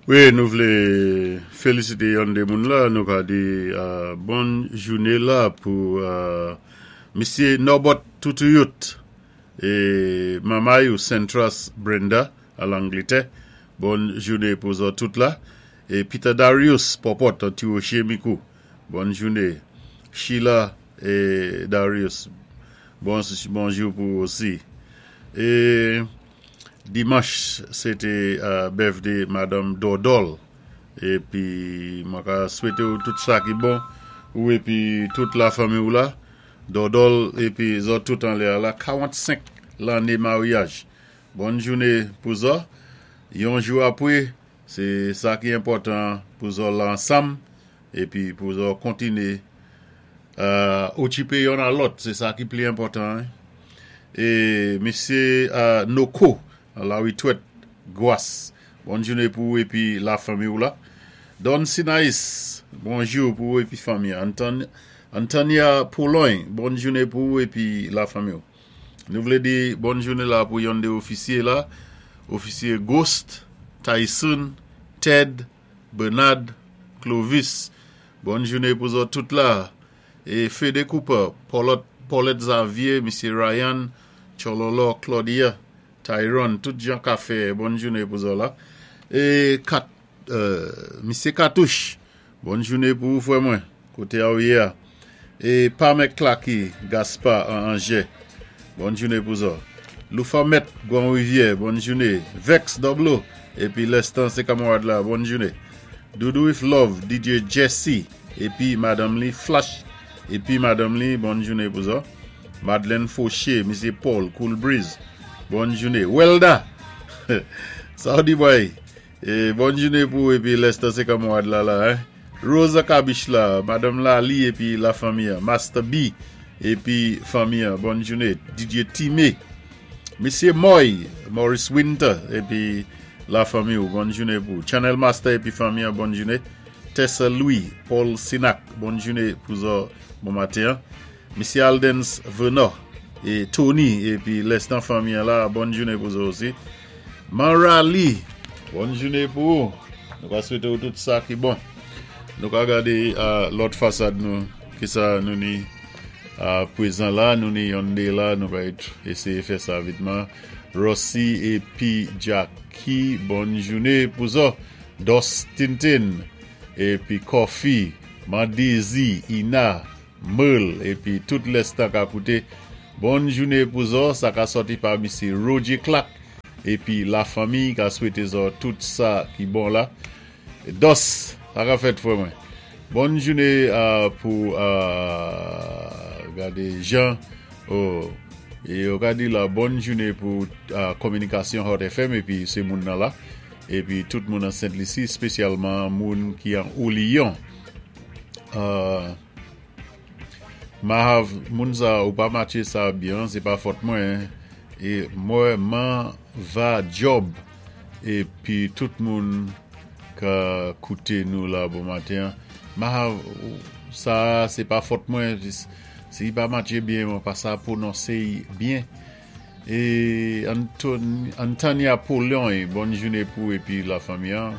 Wi, nou vlé félisité yon dé moun la, nou ka di bòn jouné la pou Misyé Norbert Toutouyout é manmay ou Sentras Brenda a Langlétè. Bòn jouné pou zòt tout la. É Peter Darius Pòpòt an Tiwoche Mikou. Bòn jouné. Sheila é Darius bon bonjou pou ou osi. É Dimanch se te birthday madanm Dòdòl epi mwen ka swete ou tout sa ki bon ou epi tout la fanmi ou la Dòdòl epi zòt tout anlè a la 45 lanne maryaj bòn joune pou zò yon jou apre se sa ki enpòtan pou zò la ansanm epi pou zò kontine okipe yonn a lòt se sa ki pli enpòtan e mesye Noko Laritwèt Gwas bòn joune pou ou epi la fanmi ou la Don Sinayis bonjou pou ou epi fanmi an Antanya Polony bòn joune pou ou epi la fanmi ou nou vle di bòn joune la pou yonn de ofisye la ofisye Ghost Tayson Ted Bernard Clovis bòn joune pou zòt tout la e Fede Cooper Paulot Paulette Xavier misye Ryan Tchololo Claudia Tyrone tout jan ka fè bòn joune pou zò la e kat misye Katouch bòn joune pou ou frè mwen kote a ou ye a e pa mèk Clacky Gaspard an Angers bòn joune pou zò Loufa mèt Gwan Rivyè bòn joune Vex Doblo epi Lestan se kamarad la bòn joune Doudou with love DJ Jesse epi madanm li Flash epi madanm li bòn joune pou zò Madeleine Fauché misye Paul Cool Breeze bòn joune Welda sa w di boy E bòn joune pou ou epi Lester se kanmwad la la hein Rosa kabich la madanm Lalie epi la fanmi an Master B epi fanmi an bòn joune DJ Time Mesye Moy Maurice Winter epi la fanmi ou bòn joune pou ou Channel Master epi fanmi an bòn joune Tessa Louis Paul Sinac bòn joune pou zò bon maten an Mesye Aldens Venor e Tony epi Lestan fanmi an la bòn joune pou zò osi Manrali bòn joune pou ou nou ka swete ou tout sa ki bon nou ka gade lòt fasad nou kisa nou ni prezan la nou ni yonn de la nou va eseye fè sa vitman Rossi epi Jacky bòn joune pou zò Dos Tintin epi Coffee Mandezi Ina Merle epi tout lèstan ka koute Bòn joune pou zò sa ka sòti pa misye Roger Clark epi la fanmiy ka swete zò tout sa ki bon la Dos sa ka fèt frè mwen Bòn joune pou gade jan oh yo ka di la bòn joune pou kominikasyon Hot FM epi se moun nan la epi tout moun an Sent Lisi spesyalman moun ki an Oliyon. Mahav moun sa ou pa matche sa byen se pa fòt mwen e mwen man va job epi tout moun ka koute nou la bon maten an Mahav sa se pa fòt mwen si pa matche byen mwen pa sa pwononse byen E Antania Paulin bòn joune pou epi la fanmi an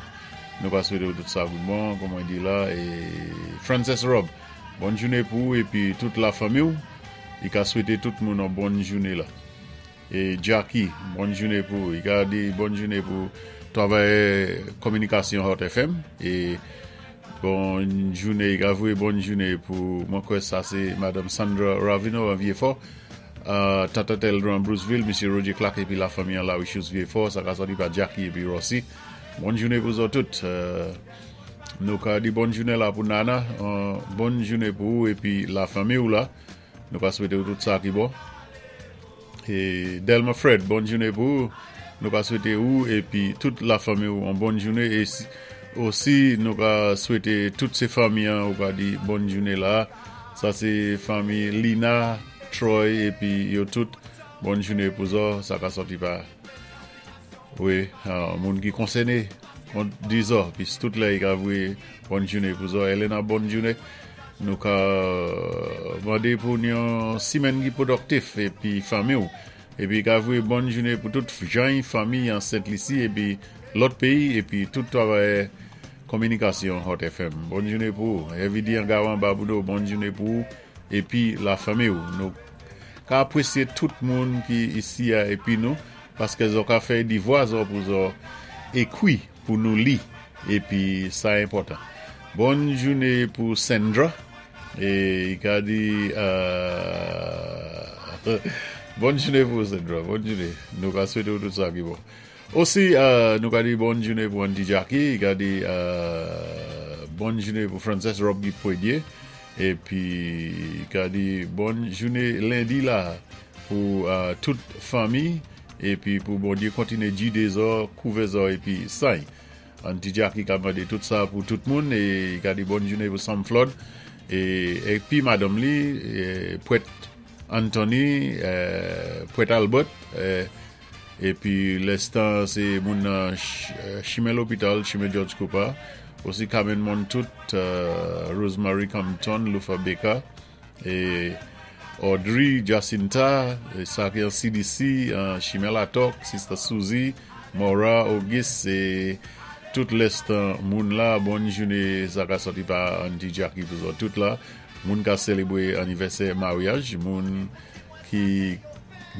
nou pa swete ou tout sa ki bon kon mwen di la e Frances Rob bòn joune pou ou epi tout la fanmi ou li ka swete tout moun an bòn joune la e Jacky bòn joune pou ou li ka di bòn joune pou travayè kominikasyon Hot FM e bòn joune li ka voye bòn joune pou mwen kwè sa se Madame Sandra Raveneau an Vyefò. Tata Teldran Bruceville, Misye Roger Clark epi la fanmi an Larichous Vieux-Fort, sa ka sòti pa Jacky epi Rossy. Bòn jounen pou zòt tout. Nou ka di bòn jounen la pou Nana, bòn jounen pou ou epi la fanmi ou la. Nou ka swete ou tout sa ki bon. E Delma Fred, bòn jounen pou ou. Nou ka swete ou epi tout la fanmi ou an bòn jounen e osi nou ka swete tout se fanmi an ou ka di bòn jounen la. Sa se fanmi Lina, Troy epi yo tout bòn joune pou zò sa ka sòti pa wi moun ki konsène kont di zò pis tout lè yi ka voye bòn joune pou zò Elena bòn joune nou ka mande pou yon simèn ki pwodòktif epi fanmi ou. Épi i ka voyé bòn jouné pou tout jany fanmi an Sent Lisi épi lòt péyi épi tout twavayè kominikasyon Hot FM. Bòn jouné pou ou. Heavy D an Gawan Baboudo bòn jouné pou ou épi la fanmi ou. Nou ka apwésyé tout moun ki isi a épi nou paské zò ka fè di vwa zò pou zò ékwi pou nou li épi sa enpòtan. Bòn jouné pou Sandra é i ka di bòn jouné pou ou Sandra bòn jouné nou ka swété ou tout sa ki bon. Osi nou ka di bòn jouné pou Aunty Jackie i ka di bòn jouné pou Frances Rob ki pwédyé épi i ka di bòn jouné lendi la pou tout fanmi épi pou Bondyé kontiné jidé zò kouvè zò épi sany. Aunty Jackie ka mandé tout sa pou tout moun é i ka di bòn jouné pou Sam Flood é épi madanm li Prèt Anthony Prèt Albert épi lèstan sé moun nan chimen lopital chimen George Cooper osi Carmen Montout Rosemary Compton Lufa Baker E Audrey Jacinta sa ki an CDC an chimen Latòk sista Suzy Maura Auguste e tout lèstan moun la bòn joune sa ka sòti pa Aunty Jackie pou zòt tout la moun ka selebre anivèsè maryaj moun ki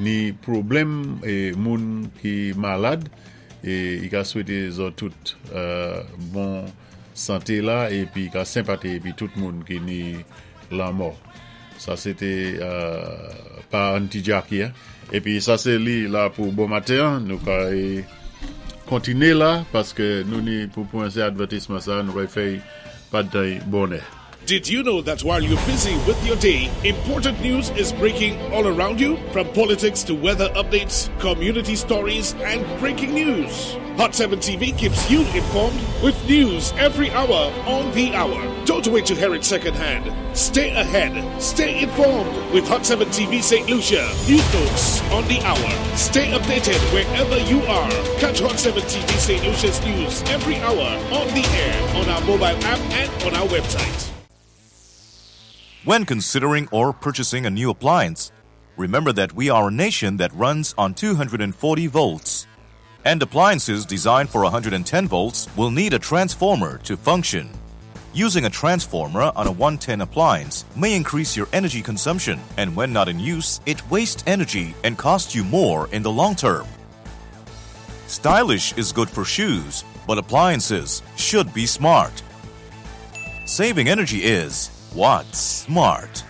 ni pwoblèm e moun ki malad e i ka swete zòt tout bon Sante la epi ka senpati epi tout moun ki ni lanmò. Sa se té pa Aunty Jackie an. Epi sa se li la pou bon maten an. Nou ka kontiné la paské nou ni pou pran se advètisman sa nou ka fè pa tan bonè. Did you know that while you're busy with your day, important news is breaking all around you? From politics to weather updates, community stories, and breaking news. Hot 7 TV keeps you informed with news every hour on the hour. Don't wait to hear it secondhand. Stay ahead. Stay informed with Hot 7 TV St. Lucia. News notes on the hour. Stay updated wherever you are. Catch Hot 7 TV St. Lucia's news every hour on the air, on our mobile app, and on our website. When considering or purchasing a new appliance, remember that we are a nation that runs on 240 volts. And appliances designed for 110 volts will need a transformer to function. Using a transformer on a 110 appliance may increase your energy consumption, and when not in use, it wastes energy and costs you more in the long term. Stylish is good for shoes, but appliances should be smart. Saving energy is what's smart.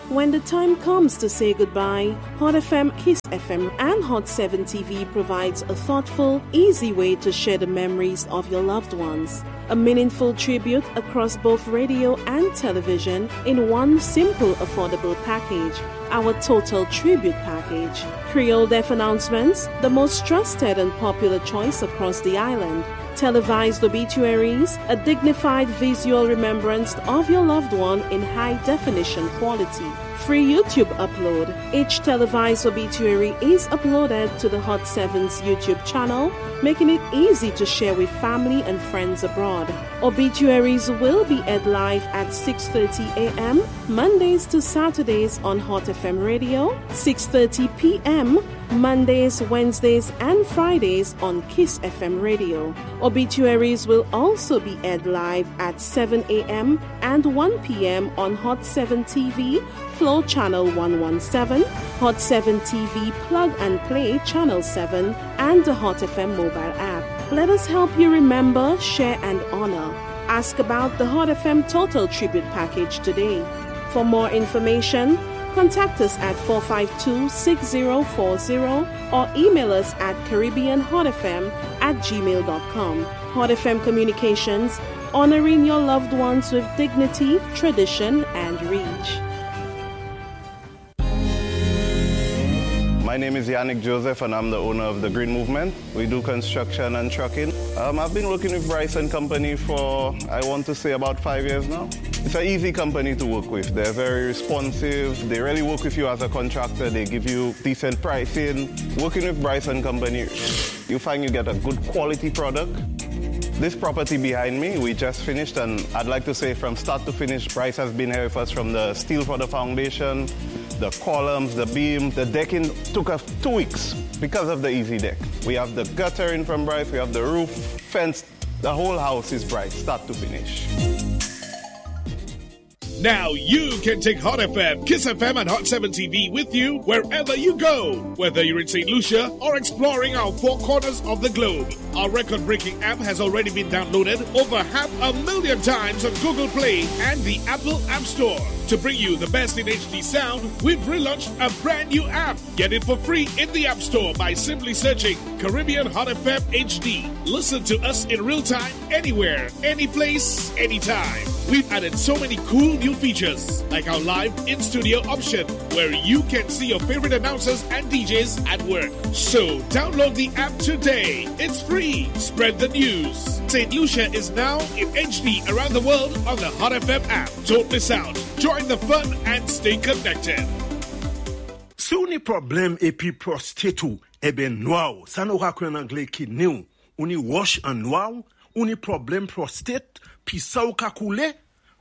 When the time comes to say goodbye, Hot FM, Kiss FM, and Hot 7 TV provides a thoughtful, easy way to share the memories of your loved ones. A meaningful tribute across both radio and television in one simple, affordable package. Our Total Tribute Package. Creole Deaf announcements, the most trusted and popular choice across the island. Televised obituaries, a dignified visual remembrance of your loved one in high definition quality. Free YouTube upload. Each televised obituary is uploaded to the Hot 7's YouTube channel, making it easy to share with family and friends abroad. Obituaries will be aired live at 6:30 a.m. Mondays to Saturdays on Hot FM Radio, 6:30 p.m. Mondays, Wednesdays, and Fridays on Kiss FM Radio. Obituaries will also be aired live at 7 a.m. and 1 p.m. on Hot 7 TV, Flow Channel 117, Hot 7 TV Plug and Play Channel 7, and the Hot FM mobile app. Let us help you remember, share, and honor. Ask about the Hot FM Total Tribute Package today. For more information, contact us at 452 6040 or email us at CaribbeanHotFM at gmail.com. Hot FM Communications, honoring your loved ones with dignity, tradition, and reach. My name is Yannick Joseph and I'm the owner of the Green Movement. We do construction and trucking. I've been working with Bryce and Company for, I want to say, about 5 years now. It's an easy company to work with. They're very responsive. They really work with you as a contractor. They give you decent pricing. Working with Bryce and Company, you find you get a good quality product. This property behind me, we just finished, and I'd like to say from start to finish, Bryce has been here with us from the steel for the foundation. The columns, the beam, the decking took us 2 weeks because of the Easy Deck. We have the guttering from Bryce, we have the roof, fence, the whole house is Bryce, start to finish. Now you can take Hot FM, Kiss FM, and Hot 7 TV with you wherever you go. Whether you're in St. Lucia or exploring our four corners of the globe. Our record breaking app has already been downloaded over 500,000 times on Google Play and the Apple App Store. To bring you the best in HD sound, we've relaunched a brand new app. Get it for free in the App Store by simply searching Caribbean Hot FM HD. Listen to us in real time, anywhere, any place, anytime. We've added so many cool new features, like our live in studio option, where you can see your favorite announcers and DJs at work. So download the app today. It's free. Spread the news. St. Lucia is now in HD around the world on the Hot FM app. Don't miss out. Join the fun and stay connected. Si ou ni pwoblèm épi prostate ou, ébén nwa, sa nou ka kwé an anglé kidney ou, ou ni wòch an nwa, ou ni pwoblèm prostate, pi sa ou ka koulé,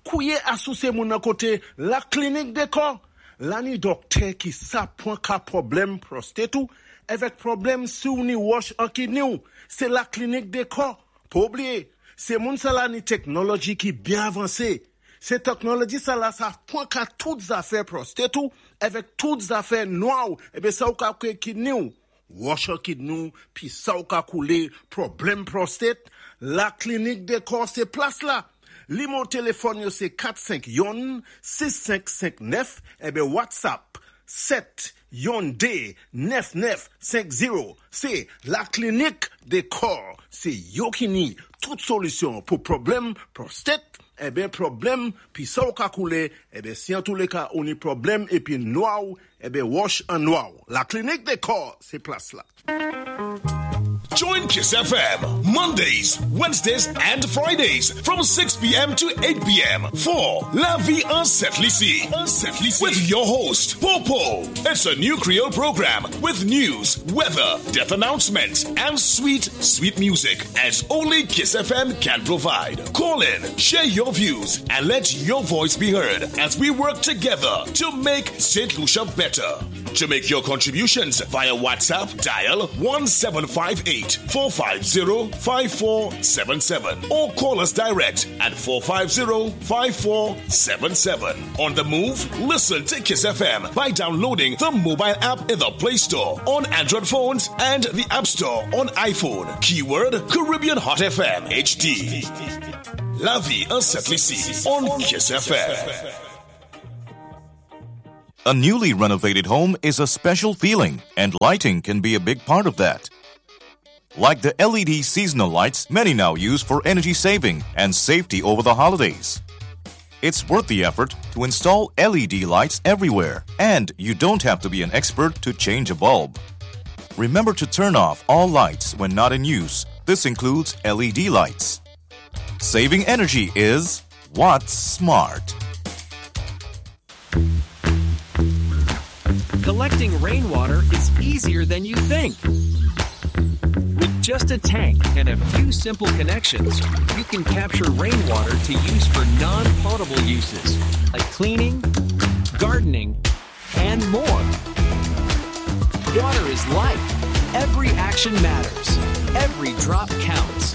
kouwé asosye moun nan koté La Clinique des Corps. La ni dòktè ki sa pwan ka pwoblèm prostate ou, avèk pwoblèm si ou ni wòch an kidney ou, sé La Clinique des Corps. Pa blié, sé moun sa la ni teknoloji ki byen avansé. Sé teknoloji sa la sa pwan ka tout zafè prostate ou, avèk tout zafè nwa ou, ébén sa ou ka kwé kidney ou. Wòch an kidney ou, pi sa ou ka koulé, pwoblèm prostate, La Clinique des Corps sé plas la. Nimewo téléfòn yo sé 451 6559 ébén WhatsApp 7 2 9950. Sé La Clinique des Corps. Sé yo ki ni tout solisyon pou pwoblèm prostate, ébén pwoblèm pi sa ou ka koulé, ébén si an tou lé ka ou ni pwoblèm épi nwa ou, ébén wòch an nwa ou. La Clinique des Corps, sé plas la. Join Kiss FM Mondays, Wednesdays, and Fridays from 6 p.m. to 8 p.m. for La Vie en Sent Lisi with your host, Popo. It's a new Creole program with news, weather, death announcements, and sweet, sweet music as only Kiss FM can provide. Call in, share your views, and let your voice be heard as we work together to make St. Lucia better. To make your contributions via WhatsApp, dial 1758 450 5477 or call us direct at 450 5477. On the move, listen to Kiss FM by downloading the mobile app in the Play Store on Android phones and the App Store on iPhone. Keyword Caribbean Hot FM HD. La vie en Sent Lisi on Kiss FM. A newly renovated home is a special feeling, and lighting can be a big part of that. Like the LED seasonal lights many now use for energy saving and safety over the holidays. It's worth the effort to install LED lights everywhere, and you don't have to be an expert to change a bulb. Remember to turn off all lights when not in use. This includes LED lights. Saving energy is what's smart. Collecting rainwater is easier than you think. With just a tank and a few simple connections, you can capture rainwater to use for non potable uses like cleaning, gardening, and more. Water is life. Every action matters. Every drop counts.